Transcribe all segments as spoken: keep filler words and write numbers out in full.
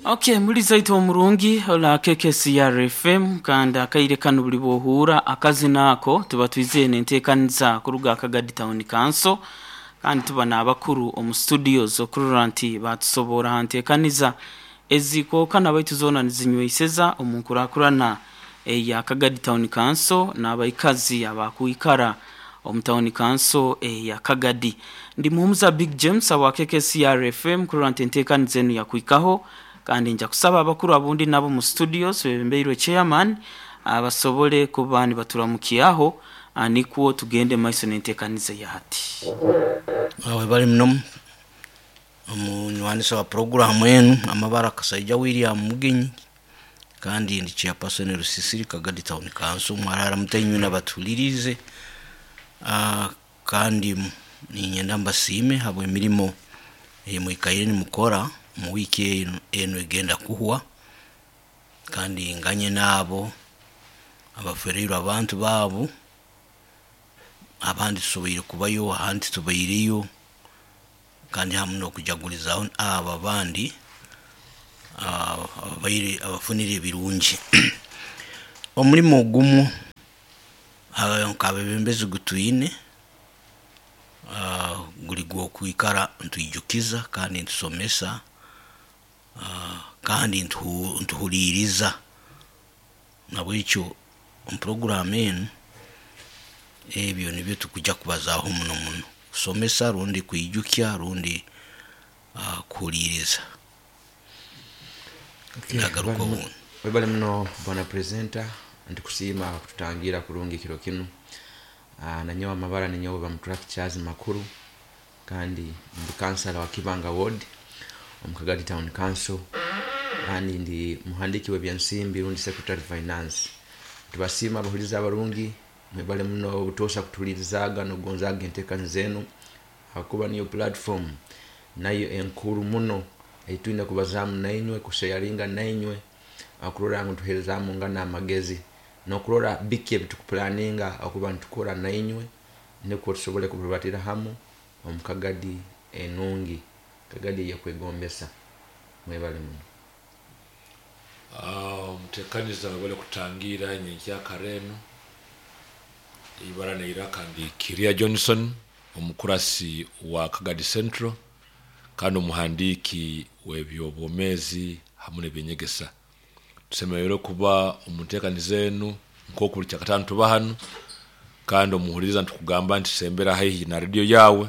Okay, muri zaito omurungi ola K K C R F M, kandi akaire kanu buli bwohura akazina ako tuba twizeye nenteekaniza kuruga Kagadi Town Council, kandi tuba n'abakuru omu studios okurora nti batusobora ha nteekaniza ezikookana baitu zoona nizinyweiseza omu nkurakurana eya Kagadi Town Council n'abaikazi abakwikara omu Town Council eya Kagadi. Ndi muhumuza Big James awa K K C R F M kurora nti enteekaniza enu yakwikaho, kandi nja kusaba abakuru abundi nabo mu studios bebembeirwe chairman abasobole kuba nibaturamukiaho, nikwo tugende maiso n'enteekaniza ya hati. Awe bali muno omunywanisa wa programu enu, amabara Kasaija William Mugenyi, kandi ndi chairperson Rusisiri, Kagadi Town Council. Mwarara mutainywe nabatulirize. uh, kandi ninyenda mbasiime habw'emirimo eyemwikaire nimukora mu wiiki enu, enu egenda kuhwa, kandi nganye naabo abafereirwe abantu baabo. Abandi tusoboire kubayo, ahandi tubaireyo, kandi hamu n'okujagulizaho abo abandi ababaire abafunire ebirungi. Omulimo ogumu nk'abebembezi gutwine guli gw'okwikara ntwijukiza kandi ntusomesa kandi ntuhuliiriza. Nabwekyo omu puroguramu enu ebyo nibyo tukujja kubazaaho muno muno: kusomesa rundi kwijukya rundi kuhuliiriza. Nagaruka obundi. Webale muno, bwana presenter, ntikusiima kututangira kurungi kiro kinu. uh, nanyowe amabara ninyowe Bamuturaki Charles Makuru, kandi ndi kansala wa Kibanga Ward omu Kagadi Town Council, kandi ndi muhandiki w'ebyensimbi rundi secretary finance. Tubasiima abahuliza abarungi, mwebale muno obutosa kutulirizaaga nokugonzaaga enteekaniza zenu, hakuba niyo platform nayo enkuru muno eitwine kubazaamu nainywe, kusharinga nainywe, okurora ngu tuherezaamu ngana amagezi nokurora biki ebitukupulaninga okuba nitukora nainywe, nikwo tusobole kubibatira hamu omu Kagadi enungi, Kagadi eyekwegombesa. Mwebale muno. Omutekaniza, webale kutangira nyenkyakara enu. Ibara neiraka ndi Kiria Johnson, omukurasi wa Kagadi Central kandi omuhandiiki w'ebyobwomezi hamu n'ebyenyegesa. Tusemereire kuba omu nteekaniza enu nk'oku buli Kyakataano tuba hanu, kandi omuhuliriza ntukugamba nti sembera haihi na rediyo yawe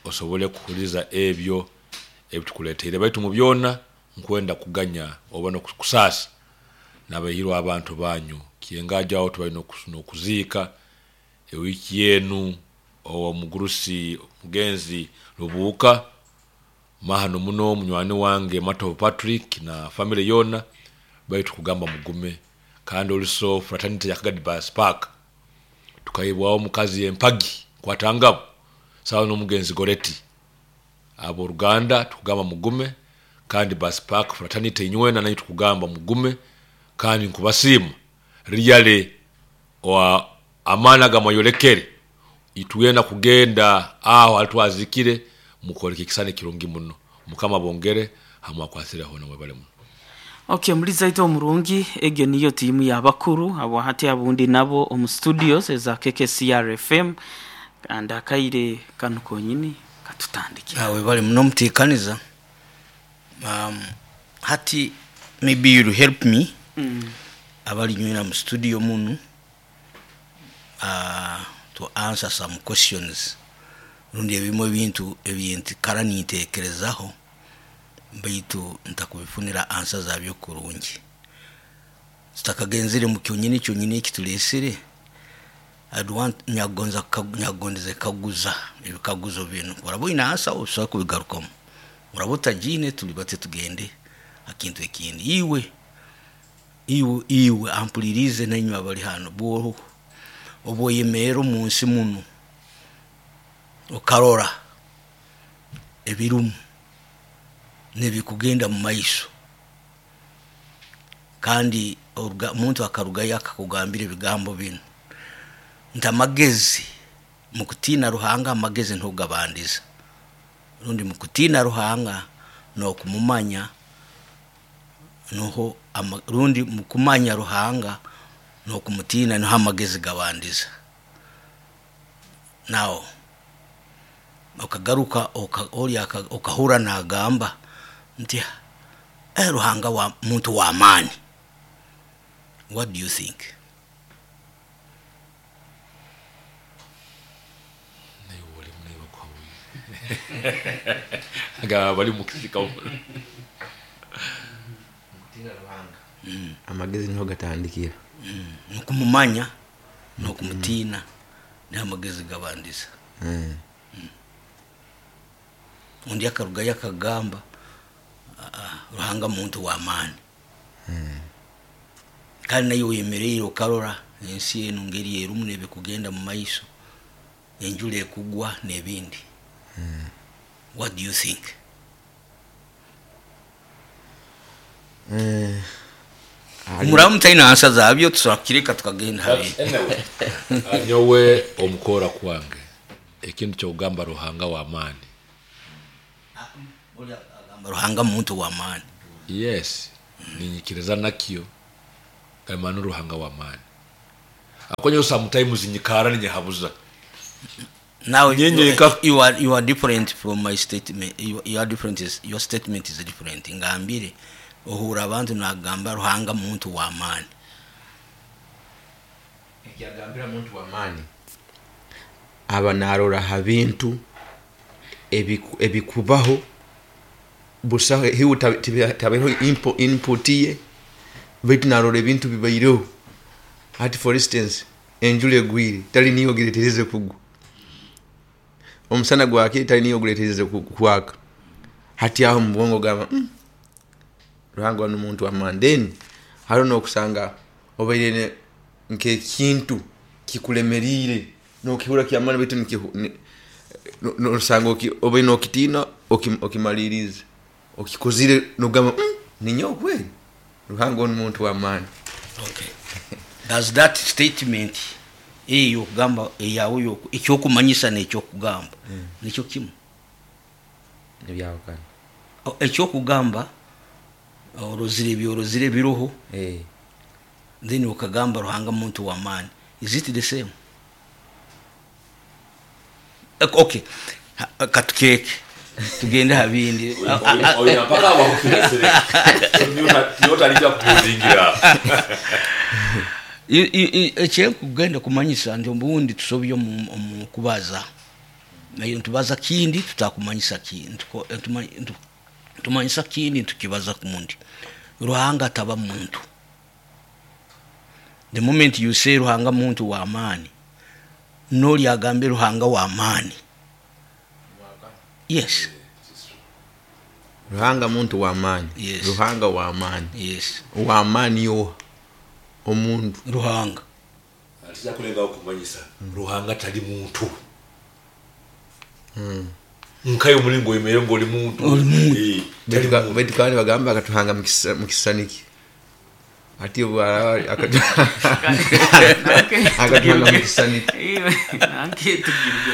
osobole kuhuliza ebyo ebitukuleteire. Baitu mu byona nkwenda kuganya oba nokusaasa nabaihirwe abantu banyu kyengajo aho tubaine nokuziika ewiiki enu omugurusi mugenzi Rubuuka mahano muno, munywani wange Mato Patrick na family yona. Baitu kugamba mugume. Kandi oluso fraternity ya Kagadi Bus Park tukahibwaho omukazi empagi kwatangabo sawa n'omugenzi Goreti. Abooluganda tukugamba mugume, kandi Bus Park fraternity inywena nayo tukugamba mugume, kandi nkubasiima really wa amaani agamwayolekere itwena kugenda aho alitwazikire mukoleka ekisani kirungi muno. Mukama bongere hamwe akwasireho namwebale muno. Okay, muri zaito omurungi, egyo niyo tiimu y'abakuru abo hati abundi nabo omu studios eza K K C R F M, kandi akaire kanu konyini katutandikira. Awe bali muno muteekaniza. um, hati maybe you'll help me mm. abali nywena mu studio munu uh, to answer some questions rundi ebimu ebintu ebintu kara nintekerezaho baitu ntakubifunira answer zabyo kurungi. Tutakagenzere mu kyonyini kyonyini ekitulesere, I'd want nyagonza nyagondeze kaguza ebikaguzo binu. Oraba oyine answer, osobola kubigarukamu. Oraba otagiine, tulibate tugende akintu ekindi. Iwe iwe iwe ampulirize nainywe abali hano, bwo obwoyemerera omu nsi muno okarora ebirumu nebikugenda mu maiso, kandi omuntu akarugayo akakugambira ebigambo binu nti amagezi mukutiina Ruhanga, amagezi ntugabandiza, rundi mukutiina Ruhanga. N'okumumanya nuho ama- rundi mukumanya Ruhanga n'okumutiina niho amagezi gabandiza. Nawo okagaruka oka- oli aka- okahura nagamba nti eh, Ruhanga wa muntu wa maani. What do you think? Naye oli munaye bakwabuye nga bali mukisika. Amagezi niho gatandikira. Nukumumanya n'okumutiina niho amagezi gabandiza. Mm. Undi akarugayo akagamba, "Ah, ah, Ruhanga muntu wa maani." Kandi naye oyemereire okarora ensi enu ngeri erumu nebikugenda mu maiso, enjura ekugwa n'ebindi. What do you think? Eh, ali- Muramu taina ansa zabyo, tusobola kukireka tukagenda habiri. Anyway, nyowe omukora kwange ekintu kyokugamba Ruhanga w'amaani. Oli agamba Ruhanga muntu wa maani. Yes, ninyikiriza nakyo kalimanu Ruhanga w'amaani akonyo sometimes nyikara ninyehabuza. Now Nyenye you, ka- you are you are different from my statement. You, you are different is, your statement is different. Ngambire ohura abantu nagamba Ruhanga muntu wa maani. Ekyagambira muntu w'amaani aba narora ha bintu ebiku- ebikubaho busaho hiwe tabeho input ye, baitu narora ebintu bibaireho. Hati for instance enjura egwire tali niyo giretereze kugwa, omusana gwakire tali niyo guretereze ku- kwaka. Hati aho mu bwongo gamba mm, Ruhanga wano muntu w'amaani. Then hariho n'okusanga obaire ne- nk'ekintu kikulemeriire nokihura kyamaani baitu nikihu- ni- no- nosanga oki- obaire nokitiina oki- okimalirize okikozire nogamba mm, ninyowe kweri Ruhanga ono muntu w'amaani. Okay, does that statement eyo okugamba eyawe yoku- ekyokumanyisa n'ekyokugamba nikyo kimu? Ebyawukana. O- ekyokugamba orozire ebyorozire biroho, Eh, then okagamba Ruhanga muntu wa maani. Is it the same? Eh, okay. Ha- katukeke tugende habindi. Oyo mpaka wakufiresere yotalija kuzingira. I- i- i- ekyenkugenda kumanyisa nti obundi tusobye omu omu kubaza, naye ntubaza kindi tutakumanyisa kindi. Ntuko- ntuma- ntu- tumanyisa kindi ntukibaza kundi. Ruhanga taba muntu. The moment you say Ruhanga muntu wa maani, noli agambe Ruhanga wa maani, yes. Ruhanga muntu w'amaani. Yes. Ruhanga w'amaani. Yes. W'amaani yoha omuntu? Ruhanga. Atija kulengaho kumanyisa Ruhanga tali muntu nkayo omulingo oyemere ngaoli muntu. Oli muntu. Eh, tali Baitu ka- muntu. baitu kandi bagamba akatuhanga mu kisa- mu kisaniki ati obu araba akatu- akatuhanga mu kisaniki.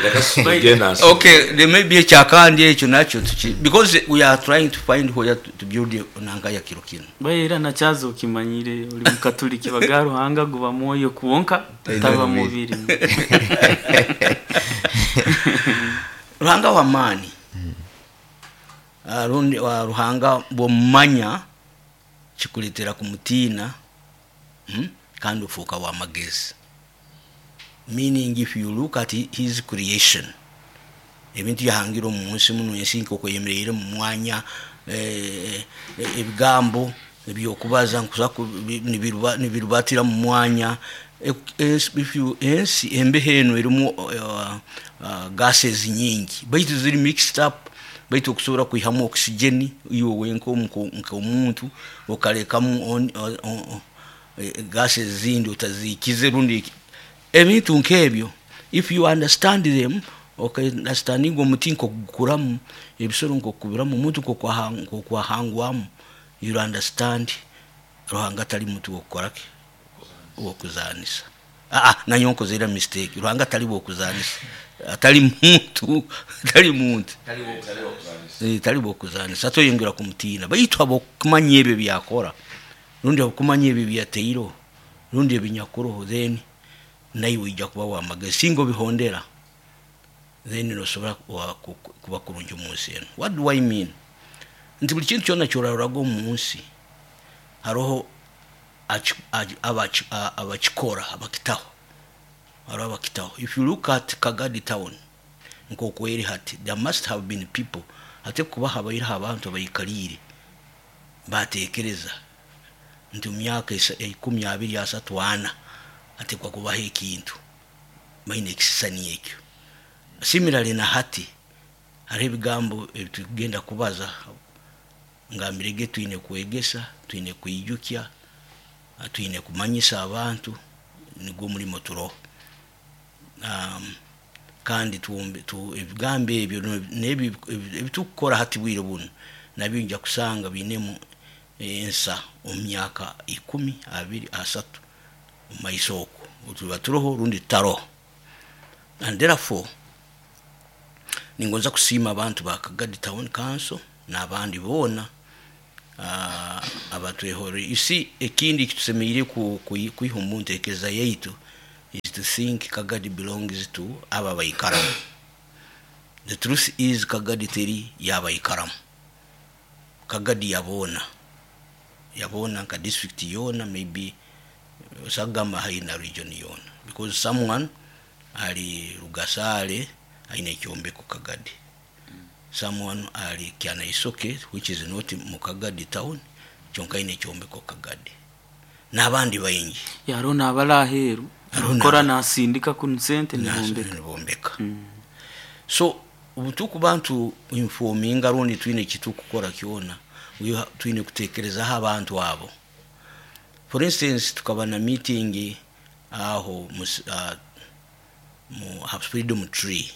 Leka tugende nsi. Okay, there may be ekyakandi ekyo nakyo tuki, because we are trying to find where to, to build nanga ya kiro kino. Baira nakyazo okimanyire oli mukatuliki baga Ruhanga guba mwoyo kwonka taba mubiri. Ruhanga wa maani. Ah, rundi wa Ruhanga bwomumanya kikuletera kumutiina, mm? Kandi ofuuka wa magezi, meaning if you look at his creation, ebintu yahangira omu nsi muno, ensi nkokweyemereire mu mwanya, eh, eh, ebigambo ebyokubaza nkusa ku- bi- nibiruba- nibirubatira mu mwanya. E- ensi- if you- ensi embeho eno erimu uh, uh, gases nyingi baitu ziri mixed up, baitu okusobola kwihamu oxygen iwe wenka nk'omuntu okalekamu on- o- o- eh, gases zindi otazikize rundi eki- ebintu nk'ebyo. If you understand them, okaunderstandinga omuti nkokugukuramu, ebisoro nkokubiramu, omuntu nkokwaha- nkokwahangwamu, you understand Ruhanga tali muntu wokukoraki wokuzanisa. Aa, nanyo nkozera mistake. Ruhanga tali wokuzanisa. Atali muntu, atali muntu, tali bwokuzanisa, atoyongera kumutiina. Baitu abokumanya ebyo byakora, rundi abokumanya ebyo byateireho, rundi ebinyakuroho, then naiwe ojja kuba wamagezi. Singa obihondera, then nosobora kuba kurungi omu nsi enu. What do I mean? Nti buli kintu kyona kyororaga omu nsi haroho abakikora, abakitaho, haroho abakitaho. If you look at Kagadi town nkokweri hati, there must have been people, ate kuba habaireho abantu abaikaliire batekereza nti mu myaka ikumi abiri asatu ana atekwa kubaho ekintu, baine ekisisani ekyo. Similarly na hati hariho ebigambo ebitugenda kubaza, ngambirege twine kwegesa, twine kwijukya, twine kumanyisa abantu, nigwo omulimo turoho. Um, kandi ebigambo ebyo n'ebi ebitukukora hati bwire bunu nabyo nja kusanga biinemu ensa omu myaka ikumi abiri asatu omu maiso okwo tuba turoho rundi tutaroho. And therefore ningonza kusiima abantu ba Kagadi Town Council n'abandi boona uh, abatwehore. You see, ekindi kitusemeriire kwiha omu ntekereza yaitu is to think Kagadi belongs to aba abaikaramu. The truth is Kagadi teri y'abaikaramu. Kagadi yaboona, yaboona nka district yoona, maybe osagamba haina region yoona, because someone ali Rugasale aine ekyombeko Kagadi, someone ali Kyanaisoke, which is not mu Kagadi town, kyonka aine ekyombeko Kagadi, n'abandi baingi. Hariho n'abari aheeru akora nasindika kunu sente nibombeka nibombeka. So obutukuba ntu informinga rundi twine ekitukukora kyona, twine kutekerezaho abantu abo. For instance, tukaba na meeting aho mu, uh, mu Freedom Tree,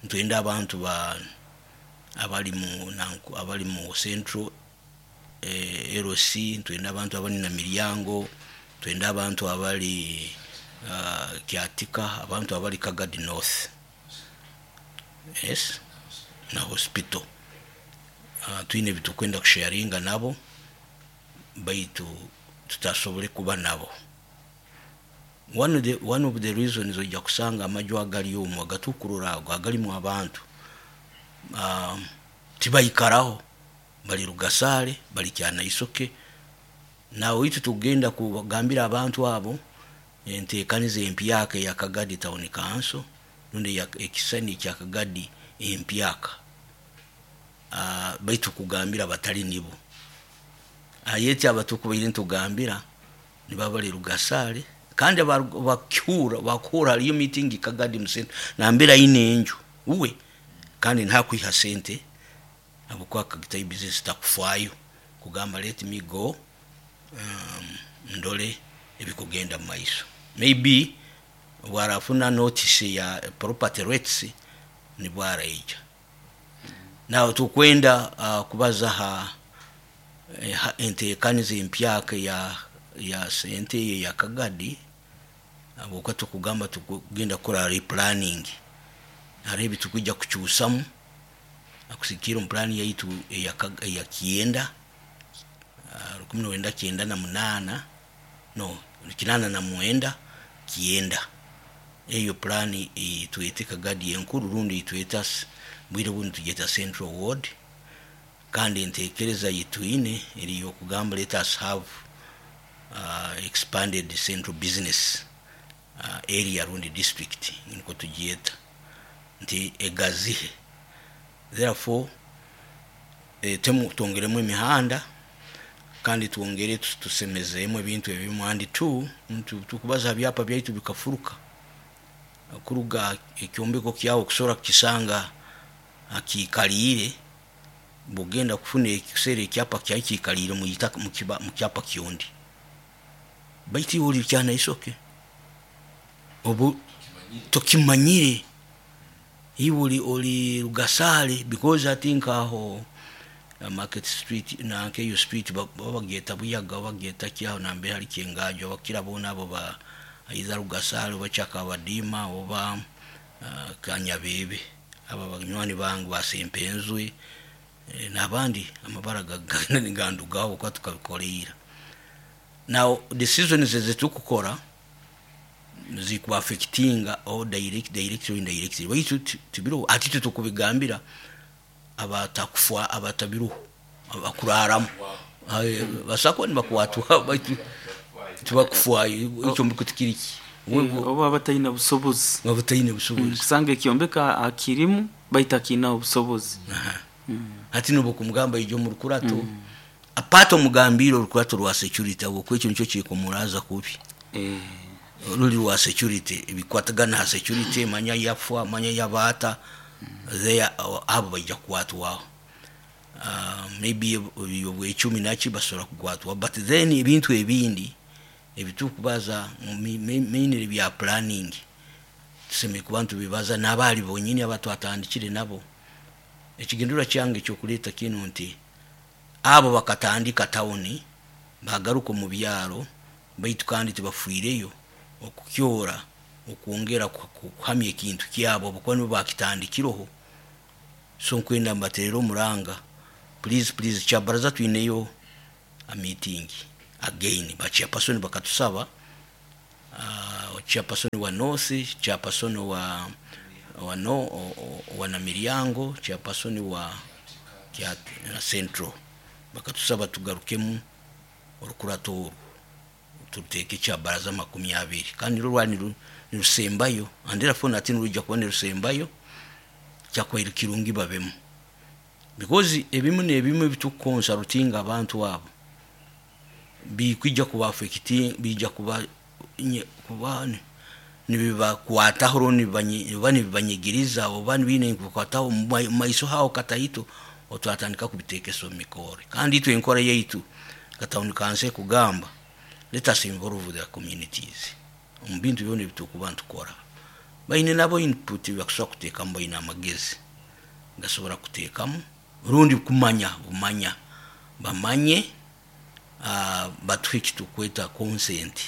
ntwenda abantu ba abali mu nanku, abali mu Central eh, L C, ntwenda abantu abali na Miryango, twenda abantu abali uh, Kyatika, abantu abali Kagadi North, yes, na hospital. Uh, twine bitukwenda kusharinga nabo, baitu tutasobole kuba nabo. One of the, one of the reasons ojja kusanga amaju agali omwo agatukurura ago agalimu abantu um, tibaikaraho, bali Rugasale, bali Kyanaisoke. Nawe itu tugenda kugambira abantu abo enteekaniza empyaka eya Kagadi Town Council rundi ekisani kya Kagadi empyaka, uh, baitu kugambira batali nibo. Ayeti abatukubaire ntugambira nibabali Rugasale, kandi bakura bakura haliyo meeting Kagadi musente nambira ine enju uwe, kandi ntakwiha sente abukwa kagita business takufaayo kugamba let me go, um, ndole ebikugenda mu maiso. Maybe bwarafuna notice ya property rates nibwaraija. Now tukwenda uh, kubaza ha, ha enteekaniza empyaka ya ya sente ya Kagadi, abuka tukugamba tukugenda kukora replanning, hariho ebitukujja kukyusamu akusikira omu plan yaitu eya eya kienda rukumi n'orwenda kyenda na munaana, no kinana na mwenda kienda. Eyo plan itwete Kagadi enkuru rundi itweta bwire buno tugeta Central Ward, kandi entekereza yitwine eri yokugamba let us have uh, expanded central business uh, area rundi district niko tugieta nti egazihe. Therefore e, temu twongeremu emihanda kandi twongere tusemezemu ebintu ebimu, and two tukubaza byapa byaitu bikafuruka kuruga ekyombeko kyawo kusobola kukisanga akikaliire, bwogenda kufuna ekiseera ekyapa kyayi kikaliire mu kyapa kyondi, baitu oli Kyanaisoke obu tokimanyire, iwe oli oli Rugasale, because I think aho Market Street nanke eyo street babagyeta Buyaga, bagyeta kyaho nambere hali Kyengajo, abakira boona abo ba either Rugasale oba Kyakabadima oba uh, Kanyabebe, aba banywani bange basempenzwe eh, n'abandi amabara gandugaho kuba tukabikoleira. Now decisions ezitukukora zikuaffectinga or direct directly or indirectly, baitu tibiro ati tutukubigambira abatakufwa abatabiruho abakuraramu basako nibakwatwa, baitu tibakufwayo ekyombeko tikiriki. Oba abatalina busobozi. Abatalina busobozi. Kusanga ekyombeko akirimu baitu akina obusobozi. Hati nubo kumugamba ijo mu rukurato apata omugambiro orukurato rwa security, abo kwekyo nikyo kikumuraza kubi eh ruli rwa security, ebikwatagana ha security, manya yafwa manya yabata there, abo baija kukwatwaho. Uh, maybe obwecumi naki basobola kukwatwa, but then ebintu ebindi ebitukubaza mainly bya planning tusemere kuba ntubibaza n'abaali bonyini abatwatandikire nabo. Ekigendera kyange ekyokuleeta kino nti abo bakatandika tawuni bagaruka omu byaro, baitu kandi tibafiireyo okukyora okwongera kuhamya ekintu kyabo abakuba nibo bakitandikireho. So nkwenda mbaterere omuranga, please please, kyabaraza twineyo a meeting again, ba chairperson bakatusaba, uh, chairperson wa North, chairperson wa wa no wa Namiryango, chairperson wa kya Central, bakatusaba tugarukemu orukurato orwo tuteeke kyabaraza makumi abiri, kandi nirwo rwari nirusembayo, and therefore nati nirujja kuba nirusembayo kyakwaire kirungi babemu, because ebimu n'ebimu ebitukukonsa rutinga abantu abo bikwija kuba affecting, bijja kuba kuba nibibakwataho oba nibibanyigiriza oba nibiine kubakwataho mu maiso haho kataito, otwatandika kubiteekesa omu mikore. Kandi itwe enkora yaitu katawuni kanse kugamba let us involve the communities omu bintu byona ebitukuba ntukora, baine nabo input bakusobola kuteekamu, baine amagezi gasobola kuteekamu rundi kumanya bumanya bamanye, uh, batuhe ekitukweta consent,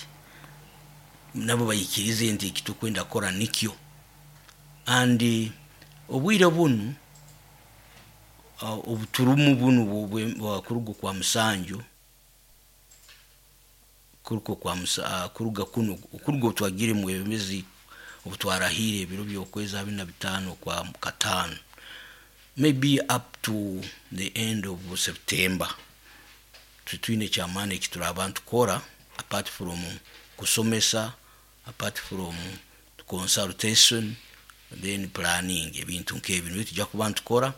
nabo bayikirize nti ekitukwenda kukora nikyo. And obwire bunu uh, obuturumu bunu bwakuruga kwa musanju kuruga kwa musa, uh, kuruga kuno kuruga otwagire mu emezi obutwarahire ebiro by'okwezi abiri na bitaano kwa kataano, maybe up to the end of September, tutwine kyamaani ekitura abantu kukora apart from kusomesa, apart from consultation, then planning ebintu nk'ebyo nibyo tujja kuba ntukora,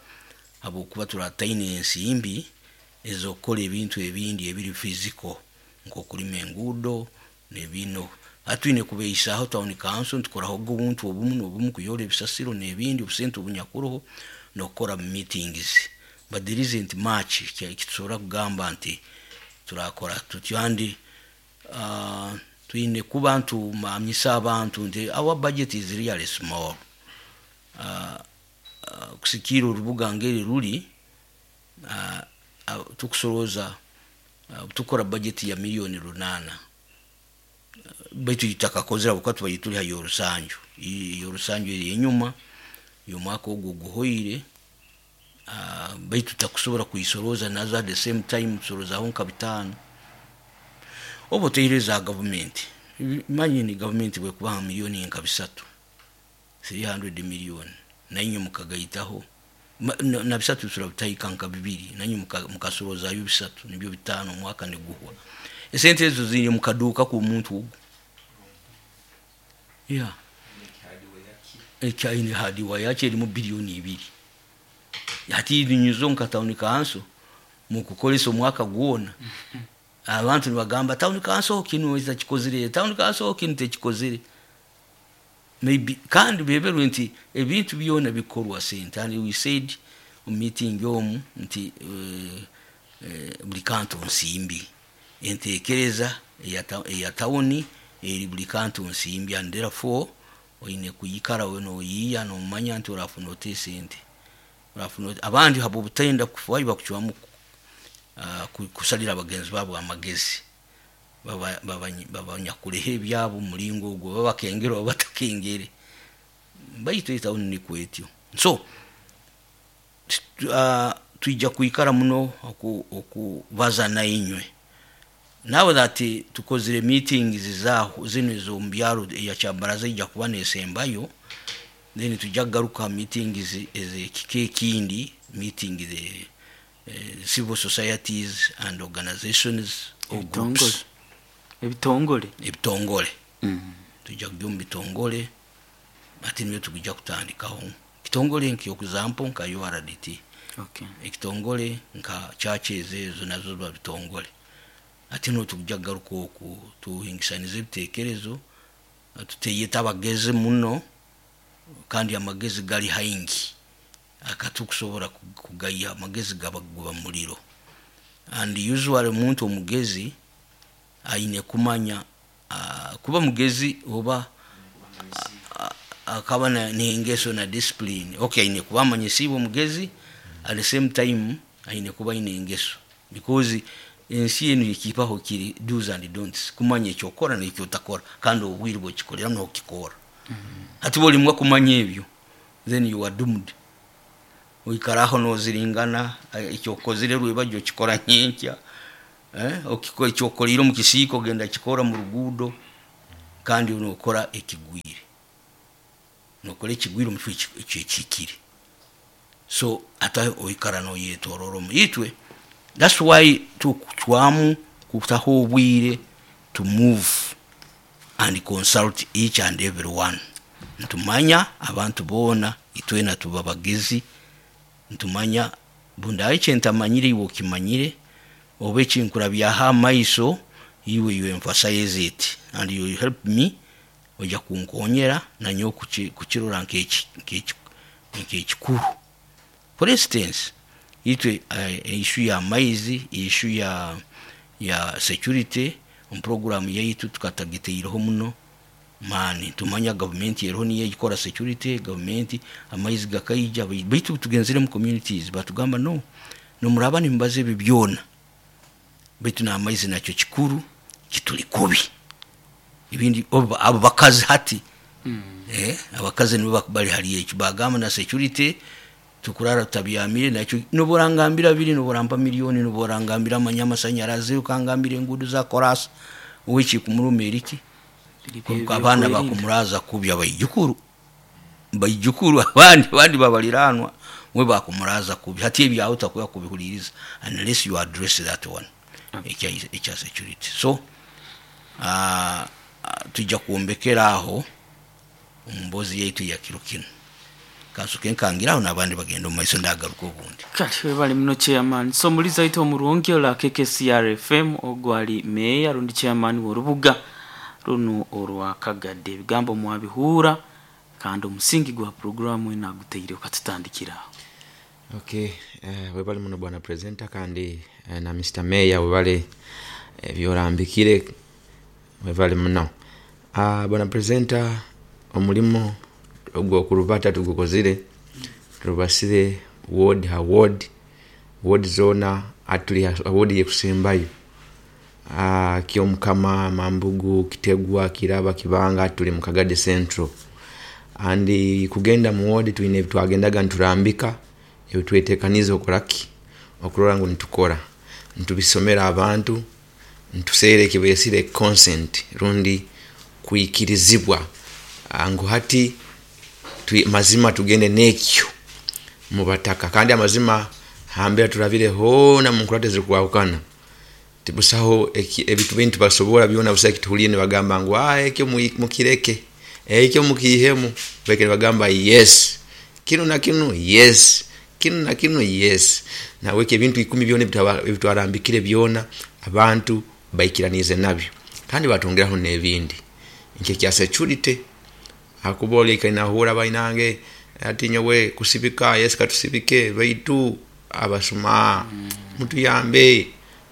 habwokuba turataine ensimbi ez'okukora ebintu ebindi ebiri physical nk'okulima enguudo n'ebino. Atwine kubeisaaho town council ntukoraho obuntu obumu n'obumu kuyora ebisasiro n'ebindi obusente obunyakuroho n'okukora meetings, but there isn't much ekitusobora kugamba nti turakora tutyo. Andi uh, twine kuba ntumanyisa abantu nti our budget is really small. Uh, uh, kusikiira orubuga ngeri ruli, uh, uh, tukusorooza uh, tukora budget ya miliyoni runaana, baitu itakakozera habwokuba tubaire turi ha y'orusanju y'orusanju eri enyuma y'omwaka ogwo guhoire, uh, baitu tutakusobora kuisorooza nazo at the same time tusoroozaho nka bitaano. Oba oteire za gavumenti, imagine gavumenti bwekubaha miliyoni nka bisatu, three hundred million, nainywe mukagaitaho na, na bisatu turabitahika nka bibiri, nainywe mukasoroozayo bisatu nibyo bitaano omwaka niguhwa. Esente ezo ziri mu kaduuka ku muntu ogwo. Yeah. Ekyaine hadiwa yakyo erimu biliyoni ibiri. Hati nyuzo nka town council mukukolesa omwaka gwona. Abantu nibagamba town council kinu ekikozire, town council kinu tekikozire. Maybe kandi beberwe nti ebintu byona bikorwa sente. And we said mu meeting omu nti uh, uh, buli kantu nsimbi. Entekereza eya tawuni eri buli kantu nsimbi, and therefore oine kuyikara we noyiya nomanya nti orafuna ota esente, orafuna abandi habo obutenda kufayo bakucwamu uh, kusalira abagenzi babo amagezi, babanyakuleho ebyabo omulingo ogwo, babakengere oba batakengere. Baitu etawuni nikwetyo. So uh, twija kwikara muno oku- okubaza nainywe nawe that tukozire meetings zaho zino ez'omubyaro, eya kyabaraza ijja kuba nesembayo, then tujja kugaruka meetings ez'ekika ekindi, meeting the uh, civil societies and organizations or Ebitongole. groups. Ebitongole. Ebitongole. Mm. Tujja kujya omu bitongole, ati nibyo tukujja kutandikaho kitongole nk'example nka U R D T, okay ekitongole nka churches, ezo nazo ziba bitongole. Ati no tukujja kugaruka oku tuhingisanize ebitekerezo, tuteyeta abagezi muno, kandi amagezi gali haingi akatukusobola kugaya amagezi gaba guba muliro. And usually omuntu omugezi aine kumanya uh, kuba mugezi oba akaba na- n'engeso na discipline. Okay, aine kuba amanyisiibwe omugezi, at the same time aine kuba aine engeso, because ensi enu ekipaho kiri do's and don'ts, kumanya ekyokora nekyotakora, kandi obwire bwekikolera nokikora. Hati bolimwa kumanya ebyo, then you are doomed. Oikaraho noziringana, eh, ekyokozire rwebajyo okikora nyenkya, eh, okiko- ekyokolire omu kisiika ogenda kikora mu ruguudo, kandi nokora ekigwire, nokora ekigwire omu kifo ekyo ekihikire. So ate oikara noyetorora omu itwe. That's why tukucwamu kutaho obwire to move and consult each and every one. Ntumanya abantu boona, itwena tuba bagezi, ntumanya bundaye kyentamanyire iwe okimanyire, oba ekinkurabyaho amaiso iwe, you emphasize it and you help me, ojja kunkonyera nanyowe kuki- kukirora nk'eki- nk'eki- nk'ekikuru. For instance, itwe uh, issue ya maizi, issue ya ya security, omu program yaitu tukatagiteireho muno maani. Tumanya gavumenti eriho niyo ekora security, gavumenti amaizi gakaija, baitu tugenzere mu communities batugamba, no nomuraba nimubaza ebi byona, baitu n'amaizi nakyo kikuru, kituli kubi. Ibindi obo- abo bakazi hati, eh, abakazi nibo bak- bali hali ekyo, bagamba na security tukurara tutabyamire nakyo. Noborangambira biri, noborampa miliyoni, noborangambira amanya amasanyarazi, ukangambira enguudo za korasi, weki kumuruma eriki? Abaana bakumuraza kubi, abaijukuru baijukuru abandi abandi babaliranwa mwe bakumuraza kubi. Hati ebyawe takuya kubihuliriza unless you address that one, ekya ekya security. So uh, tujja kwombekera aho omu yaitu ya kiro kino. Kansuke nkangiraho n'abandi bagenda omu maiso, ndagaruka obundi. Kale webale muno, chairman. So muliza waitu omurungi ola K K C R F M, ogwali meya rundi chairman w'orubuga runo orwa Kagadde. Ebigambo mwabihuura, kandi omusingi gwa programu eno aguteire ukatutandikira. Okay, eh, webale muno bwana presenter, kandi eh, na Mister Mayor webale ebyorambikire, webale muno. Ah, bwana presenter, omulimo ogwokurubata tugukozire, turubasire ward ha ward, ward zona atuli ward yekusembayo, ah, Kyomukama, Mambugu, Kitegwa, Kiraba, Kibanga, tuli mu Kagadi Central. And kugenda mu ward twine ebitwagendaga nturambika, ebitwetekaniza okoraki okurora ngu nitukora, ntubisomera abantu, ntuseere ekibesire consent rundi kwikirizibwa, ah, ngu hati twi, mazima tugende n'ekyo mubataka. Kandi amazima hambere turabire hoona mu nkurate zirikwahukana, tibusaho eki- ebintu bintu basobora byona busa ekituhuliire nibagamba ngu, ah, ekyo mui- mukireke, ekyo mukiihemu. Beke nibagamba yes kinu na kinu, yes kinu na kinu, yes naweke ebintu ikumi byona ebitwa- ebitwarambikire byona abantu baikiranize nabyo, kandi batongeraho n'ebindi nkekya security. Akuba oleka nahura bainange ati nyowe kusibika, yes katusibike, baitu abasuma mutuyambe,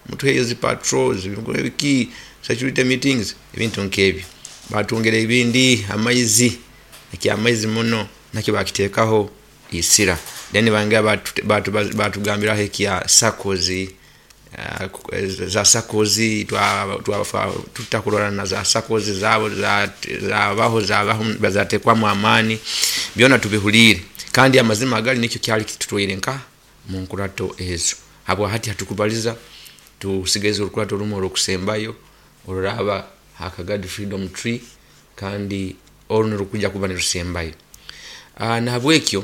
mutuheyo zi patrols, biki, security meetings, ebintu nkebyo. Batwongera ebindi, amaizi, ekyamaizi muno nakyo bakiteekaho isira. Then bangera batugambiraho ekya SACCOs. uh, za sakozi tutakurora na za sakozi zabo zabaho zabaho bazatekwamu amaani byona tubihulire kandi amazima agali nikyo kyali kitutwire nka mu nkurato ezo habwa hati hatukubaliza tusigeze urukurato rumu orokusembayo oruraba Hakagadi Freedom Tree kandi oru rukuja kuba nirusembayo. Uh, nahabwekyo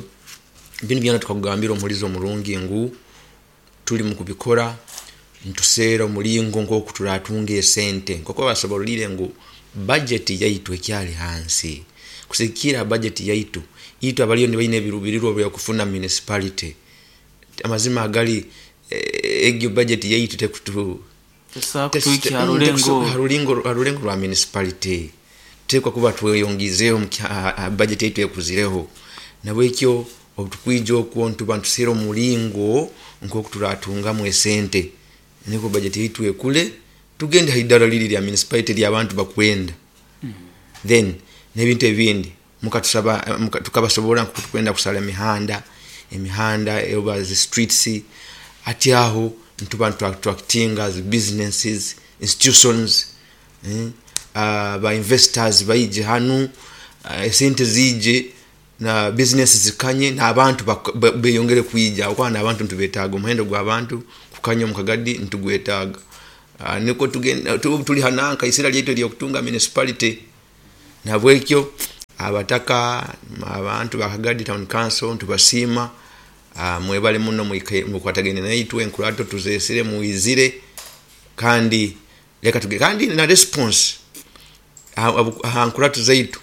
bino byona tukakugambira omulizo omurungi ngu tuli mu kubikora ntuseera omulingo nk'oku turatunga esente nk'oku basobolire ngu budget yaitu ekyali hansi kusikira budget yaitu itu abaliyo nibaine ebirubirirwa byokufuna municipality amazima agali egyo budget yaitu tekutu harulengo harulengo rwa municipality tekwa kuba tweyongizeho budget yaitu ekuzireho nabwekyo obutukwija okwo ntuba ntuseera omulingo nk'oku turatungamu esente niko budget yaitu ekule tugende haidara lili lya municipality lya abantu bakwenda. Mm. Then n'ebintu ebindi mukatusaba muka, tukabasobola nkutukwenda kusala emihanda emihanda oba zi streets ati aho ntuba attracting as businesses institutions eh, uh, ba investors baije hanu uh, esente zije na business zikanye na abantu beyongere kuija okwa na abantu ntubetaga omuhendo gwa abantu kukanya mukagadi ntugwetaga uh, niko tugenda tuli hananka isira lyetu lyo kutunga municipality nabwekyo abataka abantu bakagadi town council ntubasima uh, mwebale muno mukwatagene naitwe enkurato tuzesire muizire kandi leka tuge kandi na response ankurato zaitu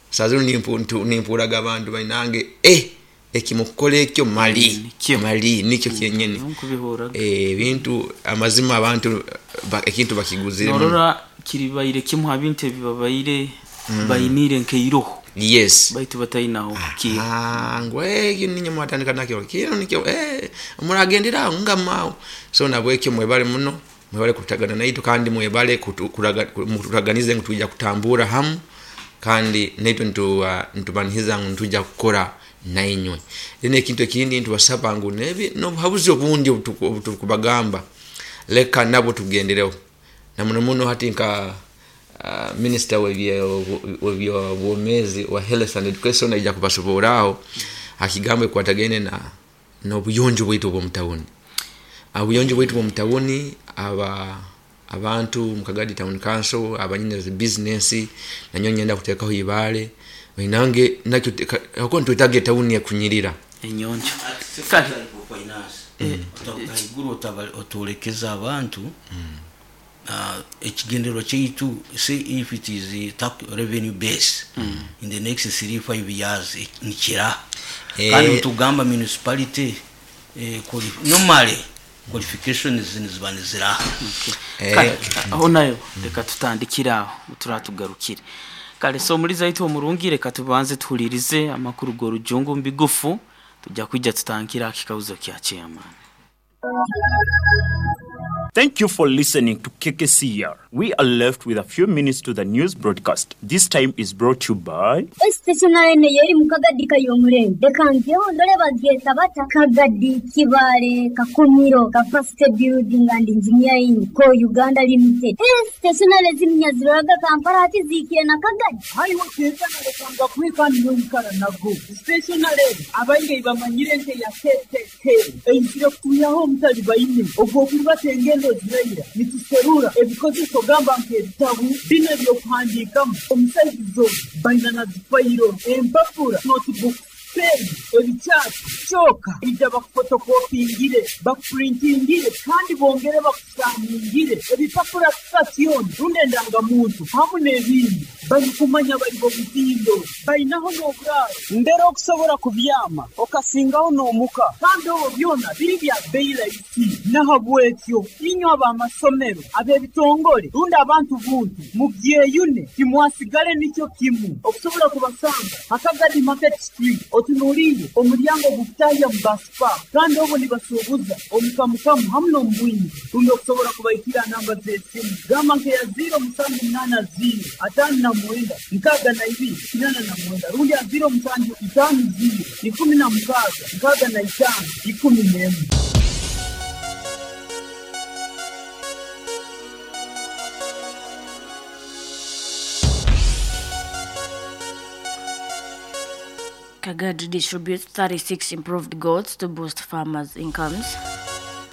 sazuru nimpu nimpuraga abantu bainange eh ekimukole ekyo mali mm, mali nikyo kyenyene mm, eh bintu amazima abantu ba, ekintu bakiguzire norora kiribaire kimu habintu ebibabaire mm. bainire nkeiroho yes baitu batainaho ki ah ngwe ninyo mwatandika nakyo kino nikyo eh muragendera ngamao so nabwekyo mwebale muno mwebale kutagana naitu kandi mwebale kuturaganize ngutujja kutambura hamu kandi naitu ntu uh, ntubanihiza ntuja kukora nainywe then ekintu ekindi ntubasaba ngu nebi no habuzi obundi obutukubagamba leka nabo tugendereho na muno muno hati nka uh, minister w'ebyo bwomezi wa health and education aija kubasoboraho akigambo kwatagene na n'obuyonjo bwaitu obw'omutawuni obuyonjo bwaitu bw'omutawuni aba abantu mukagadi town council abanyine zi business nanyo nyenda kutekaho ibale inange nakyo hako ntwitage town ya kunyirira enyonjo kali finance otaiguru otolekeza abantu ekigendero kyaitu say if it is a tax revenue base mm. in the next three five years nikira kandi tugamba municipality eh, normally qualifications niziba niziraha. Kale aho nayo reka tutandikira aho turatugarukire kale so muri zaitu omurungi reka tubanze tuhulirize amakuru go rujungu mbigufu tujya kwijja tutankira akikauzo kya chairman. Thank you for listening to K K C R. We are left with a few minutes to the news broadcast. This time is brought to you by Stationary yeri mukagadi kayomurembe. Dekangyo ndole bagyeta bata Kagadi Kibale Kakumiro Capacity Building and Engineering Co Uganda Limited. Stationary ziminyaziraga Kampala ati zikire na Kagadi. Haiwo keza nalekanga kwika niwe nago. Stationary abainge ibamanyire nte ya K K K. Eyisire kutuyaho omutali baine ogwo kubatengendo ziraira nituserura ebikozeso gamba nk'ebitabu bino ebyokuhandiikamu omusaizizo baina na zifayiro empapura notebook pen ebikyapa kyoka ija bakufotokopingire bakupurintingire kandi bongere bakusaningire ebipapura sitasioni rundi endangamuntu hamu n'ebindi balikumanya bali bomutindo bainaho n'oburaaro mbere okusobola kubyama okasingaho n'omuka kandi obwo byona biri bya bbeeyi rahisi nahabwekyo inywe ab'amasomero ab'ebitongole rundi abantu buntu mubyeyune timwasigale nikyo kimu okusobola kubasanga Hakagadi Market Street otunuulire omulyango gukutahya mu basipa kandi obwo nibasuubuza omukamukamu hamu n'omubwingi rundi okusobola kubaikira namba z'esimu gamba nkeya ziro musanju munaana ziro ataano na mwenda nkaaga na ibiri kinana na mwenda rundi ya ziro musanju itaano ziro ikumi na mukaaga nkaaga na itaano ikumi n'emu. Kagadi distributes thirty-six improved goats to boost farmers' incomes.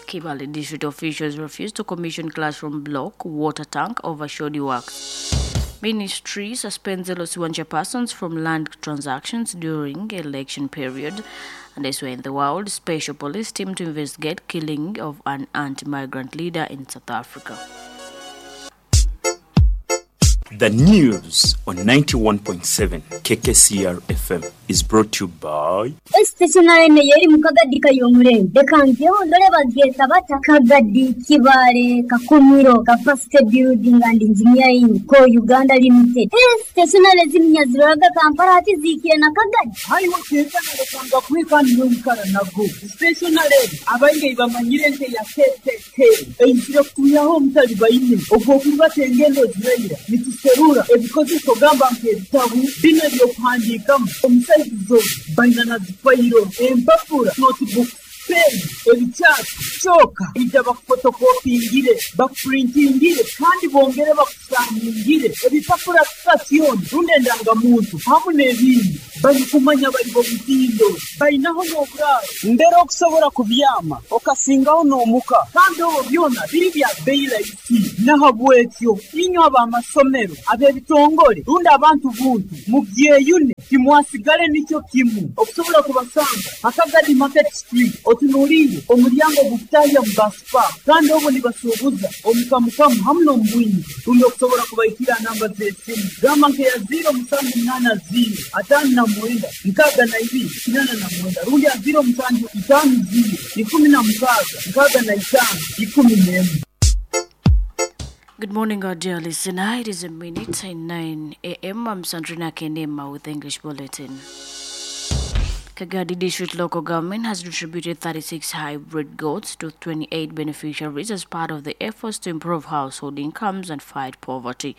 Kibaale district officials refuse to commission classroom block water tank over shoddy works. Ministry suspends L C one chairpersons from land transactions during election period. And elsewhere in the world, special police team to investigate killing of an anti-migrant leader in South Africa. The news on ninety-one point seven K K C R F M is brought to you by Stationary yeri mu Kagadi kayomurembe reka ngeho ndore bageta bata Kagadi Kibaale Kakumiro Capacity Building and Engineering ko Uganda Limited. Stationary zimnyaziraga Kampala ati zikiye na Kagadi haiwo kekana lekanga kwikani n'omukara nago stationary abainge bamanyire nte ya K K K eizire kutuyaho omutali baine ogwo kulibata engendo ziraira nituserura ebikozeso gamba nk'ebitabu bino ebyokuhandiikamu omusaizizo baina na zifayiro empapura notebook pen ebikyasi kyoka ija bakufotokopingire bakupurintingire kandi bongere bakusaningire ebipapura sitasioni rundi endangamuntu hamu n'ebindi balikumanya bali bomutindo balinaho n'oburaaro mbere okusobola kubyama okasingaho n'omuka kandi obwo byona biri bya bbeeyi rahisi nahabwekyo inywe ab'amasomero ab'ebitongole rundi abantu buntu mubyeyune timwasigale nikyo kimu okusobola kubasanga Akagadi Market Street otunuulire omulyango gukutahya mu baspa kandi obwo nibasuubuza omukamukamu hamu n'omubwingi rundi okusobola kubaikira namba z'esimu gamba nkeya ziro musanju munaana ziro ataano na mwenda nkaaga na ibiri kinaana na mwenda rundi ya ziro musanju itaano ziro ikumi na mukaaga nkaaga na itaano ikumi n'emu. Good morning, our dear listener. It is a minute in nine a m. I'm Sandrina Kenema with the English Bulletin. Kagadi District Local Government has distributed thirty-six hybrid goats to twenty-eight beneficiaries as part of the efforts to improve household incomes and fight poverty.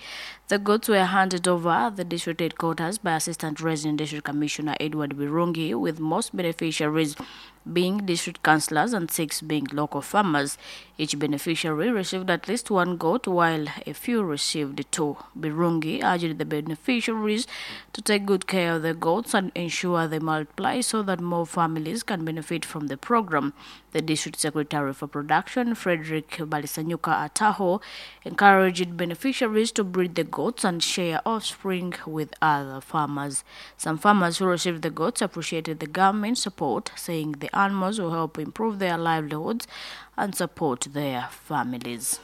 The goats were handed over at the district headquarters by Assistant Resident District Commissioner Edward Birungi, with most beneficiaries being district councillors and six being local farmers. Each beneficiary received at least one goat, while a few received two. Birungi urged the beneficiaries to take good care of the goats and ensure they multiply so that more families can benefit from the program. The district secretary for production, Frederick Balisanyuka Ataho, encouraged beneficiaries to breed the goats and share offspring with other farmers. Some farmers who received the goats appreciated the government support, saying the animals will help improve their livelihoods and support their families.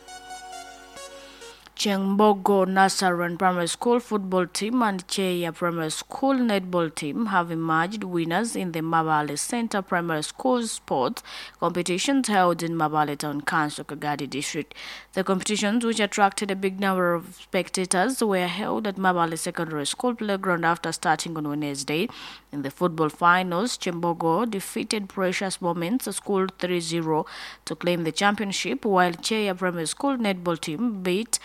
Chembogo Nasaran Primary School football team and Cheya Primary School netball team have emerged winners in the Mabale Center Primary School sports competitions held in Mabale Town Council, Kagadi District. The competitions, which attracted a big number of spectators, were held at Mabale Secondary School playground after starting on Wednesday. In the football finals, Chembogo defeated Precious Moments School three zero to claim the championship, while Cheya Primary School netball team beat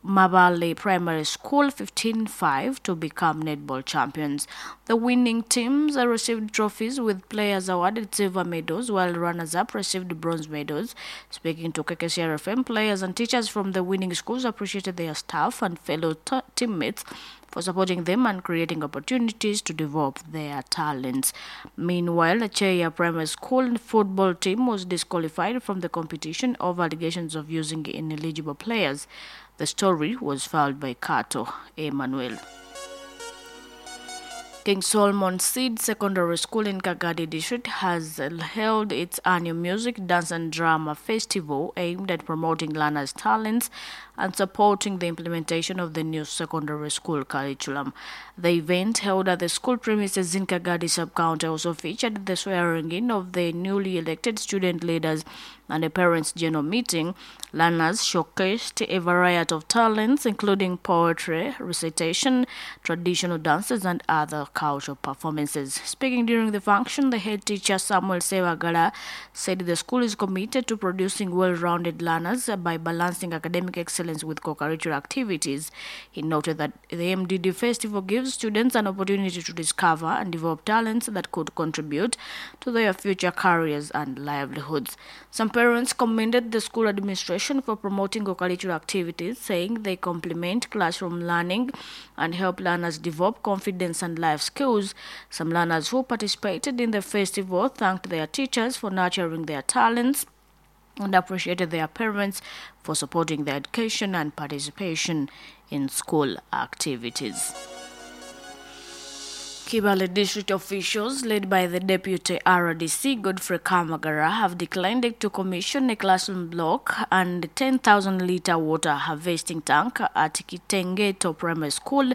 Mabale Primary School fifteen five to become netball champions. The winning teams received trophies, with players awarded silver medals while runners-up received bronze medals. Speaking to K K C R F M, players and teachers from the winning schools appreciated their staff and fellow t- teammates for supporting them and creating opportunities to develop their talents. Meanwhile, the Cheya Primary School football team was disqualified from the competition over allegations of using ineligible players. The story was filed by Kato Emmanuel. King Solomon Seed Secondary School in Kagadi District has held its annual music, dance and drama festival aimed at promoting learners' talents and supporting the implementation of the new secondary school curriculum. The event, held at the school premises in Kagadi sub-county, also featured the swearing-in of the newly elected student leaders and a parents' general meeting. Learners showcased a variety of talents, including poetry, recitation, traditional dances, and other cultural performances. Speaking during the function, the head teacher, Samuel Sewagala, said the school is committed to producing well-rounded learners by balancing academic excellence with co-curricular activities. He noted that the M D D Festival gives students an opportunity to discover and develop talents that could contribute to their future careers and livelihoods. Some parents commended the school administration for promoting co-curricular activities, saying they complement classroom learning and help learners develop confidence and life skills. Some learners who participated in the festival thanked their teachers for nurturing their talents and appreciated their parents for supporting their education and participation in school activities. Kibale district officials led by the deputy R D C Godfrey Kamagara have declined to commission a classroom block and ten thousand litre water harvesting tank at Kitengeto Primary School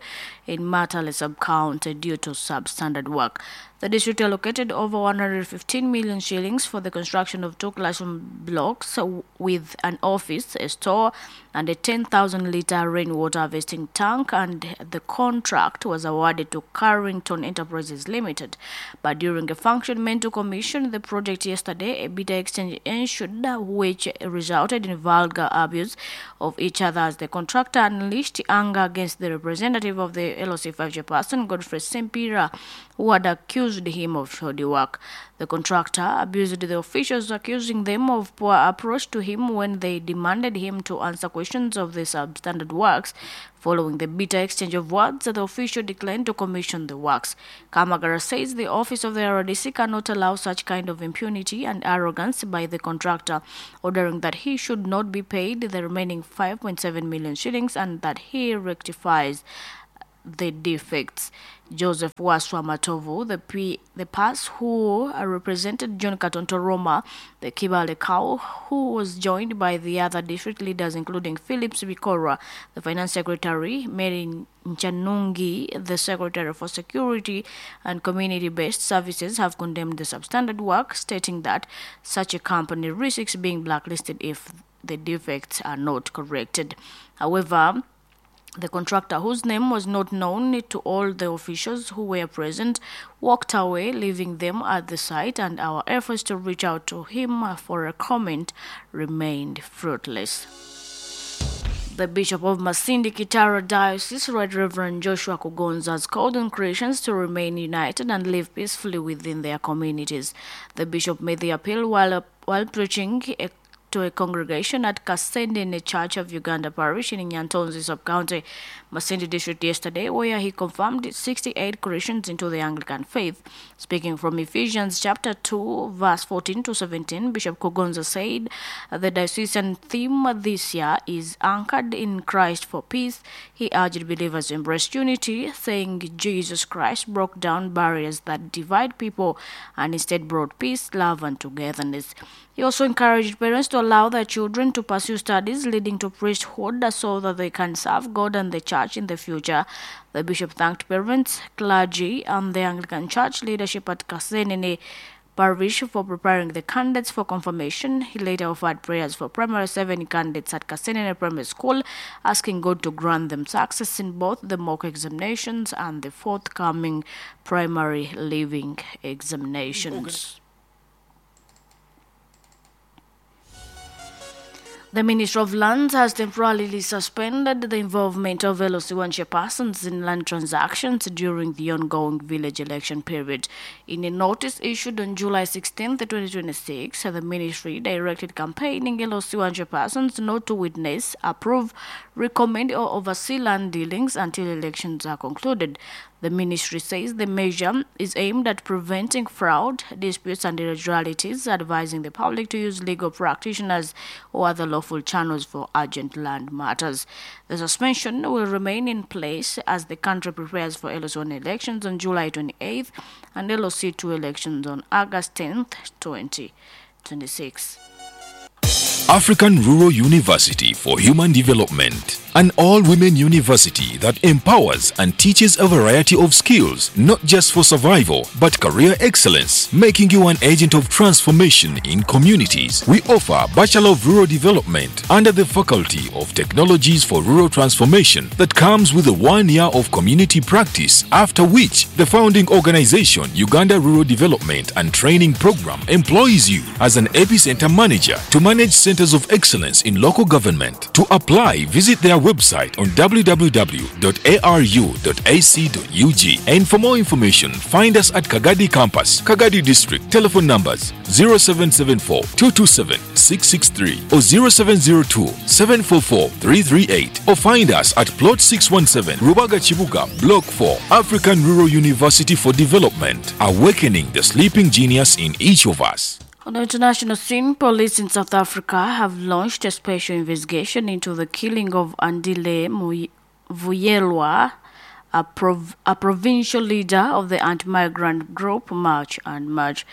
in Matale sub-county due to substandard work. The district allocated over one hundred fifteen million shillings for the construction of two classroom blocks with an office, a store, and a ten thousand litre rainwater harvesting tank, and the contract was awarded to Carrington Enterprises Limited. But during a function meant to commission the project yesterday, a bitter exchange ensued, which resulted in vulgar abuse of each other as the contractor unleashed anger against the representative of the L O C five chairperson, Godfrey Sempira, who had accused him of shoddy work. The contractor abused the officials, accusing them of poor approach to him when they demanded him to answer questions of the substandard works. Following the bitter exchange of words, the official declined to commission the works. Kamagara says the office of the R D C cannot allow such kind of impunity and arrogance by the contractor, ordering that he should not be paid the remaining five point seven million shillings and that he rectifies the defects. Joseph Waswa Matovu, the P, the P A S who represented John Katonto Roma, the Kibale Cow, who was joined by the other district leaders including Phillips Bikora, the finance secretary, Mary Nchanungi, the secretary for security and community-based services, have condemned the substandard work, stating that such a company risks being blacklisted if the defects are not corrected. However, the contractor, whose name was not known to all the officials who were present, walked away, leaving them at the site, and our efforts to reach out to him for a comment remained fruitless. The Bishop of Masindi Kitara Diocese, Right Reverend Joshua Kugonza, has called on Christians to remain united and live peacefully within their communities. The bishop made the appeal while, while preaching a to a congregation at Kasendene Church of Uganda Parish in Nyantonzi sub-county, Masindi district yesterday, where he confirmed sixty-eight Christians into the Anglican faith. Speaking from Ephesians chapter two, verse fourteen to seventeen, Bishop Kugonza said the diocesan theme this year is anchored in Christ for peace. He urged believers to embrace unity, saying Jesus Christ broke down barriers that divide people and instead brought peace, love, and togetherness. He also encouraged parents to allow their children to pursue studies leading to priesthood so that they can serve God and the church in the future. The bishop thanked parents, clergy, and the Anglican Church leadership at Kasenene Parish for preparing the candidates for confirmation. He later offered prayers for primary seven candidates at Kasenene Primary School, asking God to grant them success in both the mock examinations and the forthcoming primary leaving examinations. The Ministry of Lands has temporarily suspended the involvement of L O C one chairpersons in land transactions during the ongoing village election period. In a notice issued on July sixteenth, twenty twenty-six, the ministry directed campaigning L O C one chairpersons not to witness, approve, recommend or oversee land dealings until elections are concluded. The ministry says the measure is aimed at preventing fraud, disputes and irregularities, advising the public to use legal practitioners or other lawful channels for urgent land matters. The suspension will remain in place as the country prepares for L O C one elections on July twenty-eighth and L O C two elections on August tenth, twenty twenty-six. African Rural University for Human Development, an all-women university that empowers and teaches a variety of skills, not just for survival, but career excellence, making you an agent of transformation in communities. We offer Bachelor of Rural Development under the Faculty of Technologies for Rural Transformation that comes with a one year of community practice, after which the founding organization, Uganda Rural Development and Training Program, employs you as an epicenter manager to manage Centers of Excellence in local government. To apply, visit their website on w w w dot a r u dot a c dot u g. And for more information, find us at Kagadi Campus, Kagadi District. Telephone numbers zero seven seven four, two two seven, six six three or zero seven zero two, seven four four, three three eight, or find us at Plot six one seven, Rubaga Chibuga, Block four, African Rural University for Development, awakening the sleeping genius in each of us. On the international scene, police in South Africa have launched a special investigation into the killing of Andile Vuyelwa, a, prov- a provincial leader of the anti-migrant group March and March.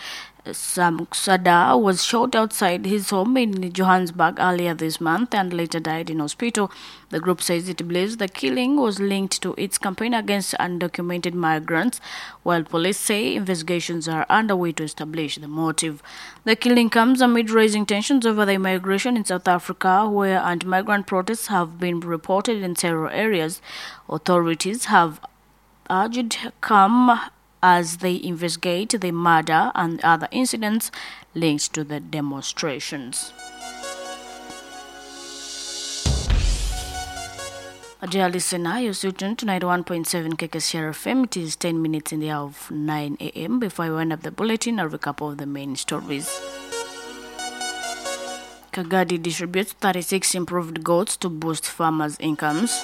Sam Sada was shot outside his home in Johannesburg earlier this month and later died in hospital. The group says it believes the killing was linked to its campaign against undocumented migrants, while police say investigations are underway to establish the motive. The killing comes amid rising tensions over the immigration in South Africa, where anti-migrant protests have been reported in several areas. Authorities have urged calm as they investigate the murder and other incidents linked to the demonstrations. Dear listener, you're still tuned to ninety-one point seven K K C R F M. It is ten minutes in the hour of nine A M. Before I wind up the bulletin, a recap of the main stories. Kagadi distributes thirty-six improved goats to boost farmers' incomes.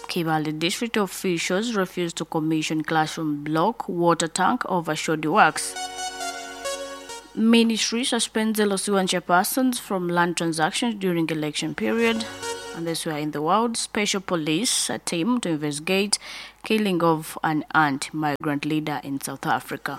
Kibale district officials refuse to commission classroom block water tank over shoddy works. Ministry suspends L C one chairpersons from land transactions during election period. And this were in the world. Special police a team to investigate killing of an anti-migrant leader in South Africa.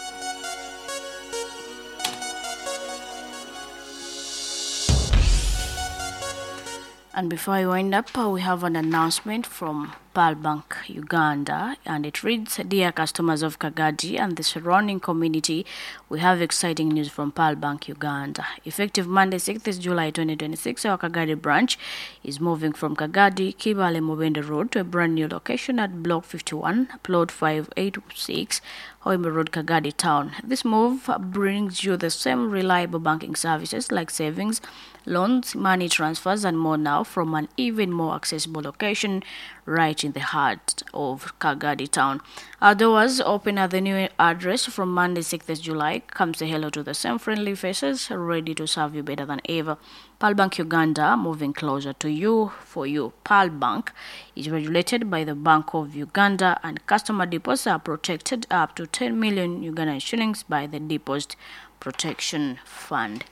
And before I wind up, we have an announcement from Pearl Bank Uganda, and it reads, Dear customers of Kagadi and the surrounding community, we have exciting news from Pearl Bank Uganda. Effective Monday, sixth July twenty twenty-six, our Kagadi branch is moving from Kagadi, Kibale Mubende Road to a brand new location at Block fifty-one, Plot five eight six, Hoima Road, Kagadi Town. This move brings you the same reliable banking services like savings, loans, money transfers, and more now from an even more accessible location right in the heart of Kagadi Town. Our doors open at the new address from Monday, sixth July. Come say hello to the same friendly faces, ready to serve you better than ever. Pearl Bank Uganda, moving closer to you, for you. Pearl Bank is regulated by the Bank of Uganda, and customer deposits are protected up to ten million Ugandan shillings by the Deposit Protection Fund.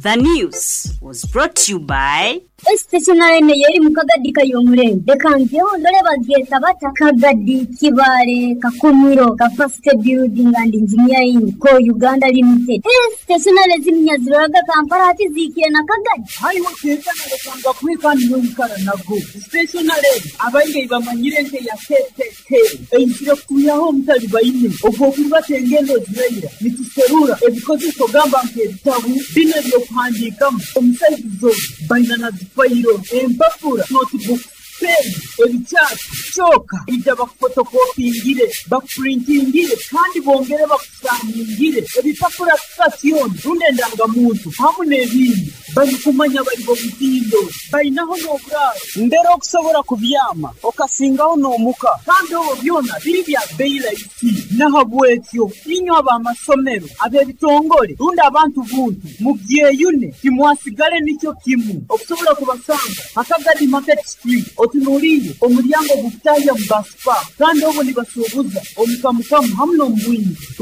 The news was brought to you by Stationary yeri mukagadi kayomurembe reka ndore bagyeta bata Kagadi Kibale Kakumiro Capacity Building and Engineering ko Uganda Limited. Stationary zimnyaziraga Kampala ati zikire na Kagadi hariho tekana reka kwikandi n'oyikara nago stationary abaingi bamanyire nte ya K K K eizire kuyaho omutali baine ogwo kulibata engendo ziraira nituserura ebikozeso gamba nk'ebitabu bino ebyokuhandiikamu omusaizizo baina na fayiro empapura notebook pen ebikyati kyoka ija bakufotokopingire bakupurintingire kandi bongere bakusangingire ebipapura sitasioni rundi endangamuntu hamu n'ebindi barikumanya bari bomutindo bainaho n'oburaaro mbere okusobola kubyama okasingaho n'omuka kandi obwo byona biri bya beyi rahisi nahabwekyo inywe ab'amasomero ab'ebitongole rundi abantu buntu mubyeyune timwasigale nikyo kimu okusobola kubasanga Akagadi Market Street otunuulire omulyango gukutahya mu basipa kandi obwo nibasuubuza omukamukamu hamu n'omubwingi.